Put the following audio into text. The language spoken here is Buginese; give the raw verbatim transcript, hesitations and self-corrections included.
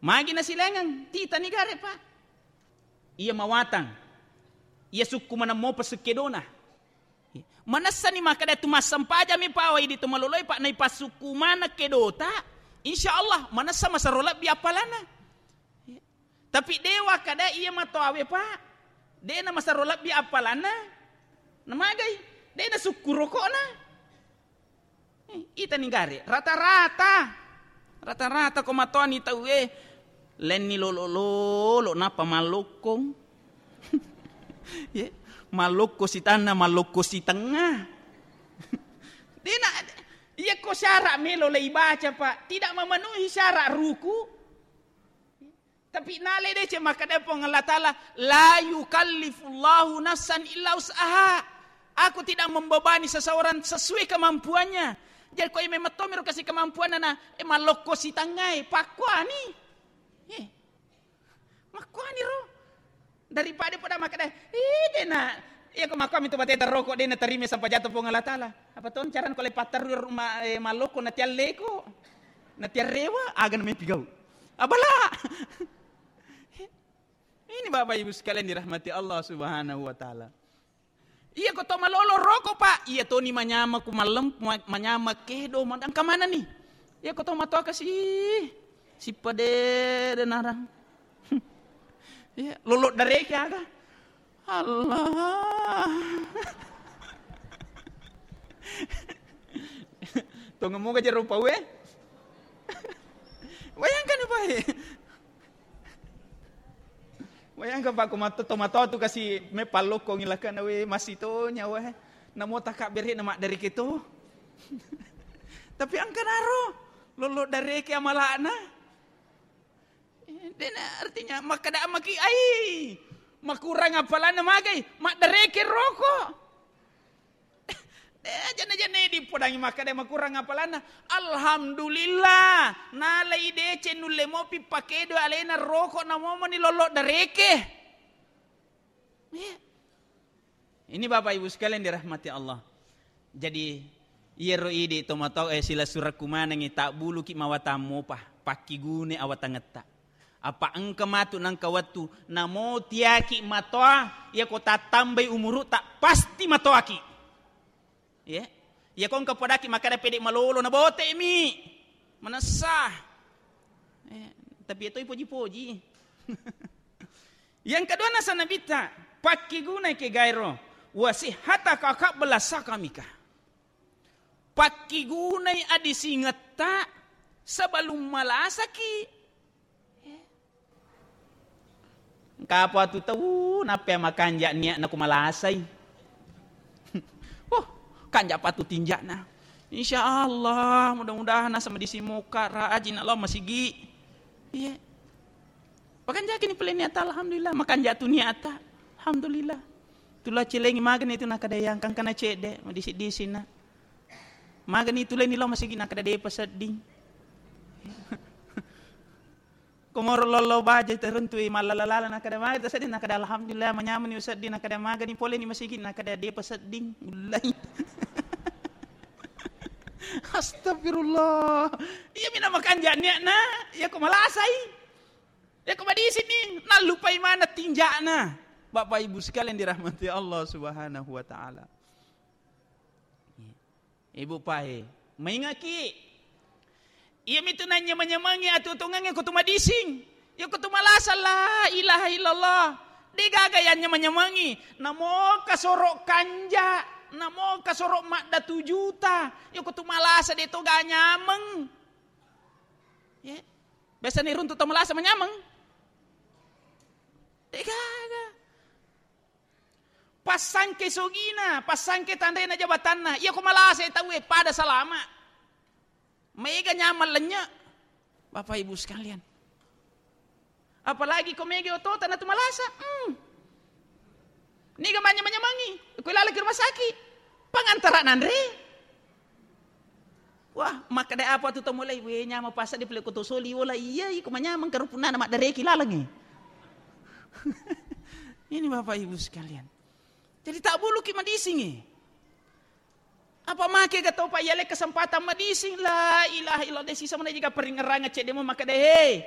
Magi nasilengeng, titani gare, Pak. Iya mawatang. Iya sukku maneng mopa sukkedona. Manessani makkeda tu massempajami, Pak, wai di tu maloloi, Pak, naipassukku maneng kedota, insya Allah manessa masero lebbi appalanna. Tapi dewa kada iya matoawe, Pak. Dena masero lebbi appalanna. Namagai? Dena sukku rokokna. Eh, itani gare, rata-rata. Rata-rata ko matoani tauwe, lenni lolo-lolo, nappa mallokkong. Ye, mallokko sitanna, mallokko sitengnga. Dena, iya ko syarat melo leibaca, Pak, tidak memenuhi syarat ruku. Tapi nale deceng makkeda Puang Allah Ta'ala, "La yukallifullahu nafsan illa wus'aha." Aku tidak membebani seseorang sesuai kemampuannya. Jadi ko memang tomiro kasi kemampuanna na, eh, mallokko sitangngai, pakkuani. Eh, makkuani ro. Daripada pada makkeda, eh, dena. Iya ko makkuami tu bateta rokok dena terima sampajang Puang Allah Ta'ala. Apa ton carana ko le patterru rumah, eh, mallokko natialleko. Natiarrewa, aga nameppi gau. Abala. Ini Bapak Ibu sekalian dirahmati Allah Subhanahu wa Ta'ala. Iya ko to malolo rokok, Pak. Iya toni manyama ku mallem-, ma-, manyama kedo, ma-, engka manani. Iya ko to matoa kasi, sipade denarang. Iya, lolo dareke aga. Allah. Tongeng moga jero pauwe. Bayangkan, Pak. Bayangkan, Pak, ko mato-, to matoa tu kasi me pallokkongi lakana we, masitonya we. Namo takabbere'na maddareke to. Tapi engka naro, lolo dareke amala'na. Eh, dena artinya makkeda maki, ai, makurang apalanna magai, maddareke roko. Eh, janna-janna dipodangi makkeda makurang apalanna. Alhamdulillah, nalai deceng nulle mopi pakedo alena roko namomoni lolo dareke. Iya. Ini Bapak Ibu sekalian dirahmati Allah. Jadi, iyaro idi tomatoa, eh, silessurekku manengngi, tabbuluki mawatang mopa, pakkigunai awatangetta. Apa engka matu nengka wettu, namo tiaki matoa, iya ko tattambai umuru'ta, pasti matoaki. Iya. Iya ko engka podaki makkeda pede malolo, nabote'mi. Manessa. Eh, tapi iya toi poji-poji. Yang kedua nasa Nabitta, pakkigunai kegaero, wa sihhataka qabla saqamika. Pakkigunai adisingetta sebelum malasaki. Engka apa tu tau, nappa makanja niatna ku malasai. Oh, kanja patu tinjana. Insya Allah, mudah-mudahan asa madising moka, rajin Allah masigi. Iya. Pakanjaki ni pole niatta, alhamdulillah. Makanja tu niatta, alhamdulillah. Tula celengi magani tu nakada yang kangkana cedde, madisi-disina. Magani tuleni lo masigi nakada depa sedding. Komoro lollo baja terentui mallala-lala nakada maga sedding, nakada alhamdulillah, manyameni sedding, nakada magani poleni masigi nakada depa sedding. Ullai. Astagfirullah. Iya mina makanja niatna, iya ko malasai. Iya ko madisini, nallupai mana tinjana. Bapak Ibu sekalian dirahmati Allah Subhanahu wa taala. Ibu pae, maingaki. Iya mitu nanyameng-nyamengi atuo-tuongengnge ko tu madising. Iya ko tu malasa la ilaha illallah. De gaga yanyameng-nyamengi. Namo kasoro kanja, namo kasoro maddatu juta. Iya ko tu malasa de toga nyameng. Ya. Biasa ni runtu to malasa manyameng. De gaga. Passangke sogina, passangke tanrena jabatanna. Iya ko malasa tauwe pada salama. Maega nyameng lennye. Bapak Ibu sekalian. Apalagi ko mega otota natu malasa. Hmm. Niga manyameng-nyamengi. Ko lalaki rumah sakit. Pangantara nanre. Wah, makkeda apa tu to mulai? We, nyameng pasa di pele ko to soli wola. Iya, iko manyameng karo punnana maddareki lalengnge. Ini Bapak Ibu sekalian. Jadi tak buluki madisingi. Apa make ga topa yale kesempatan madising? La ilaha illallah, de sisa mana jika peringerang cedde mo makkeda, "Hei,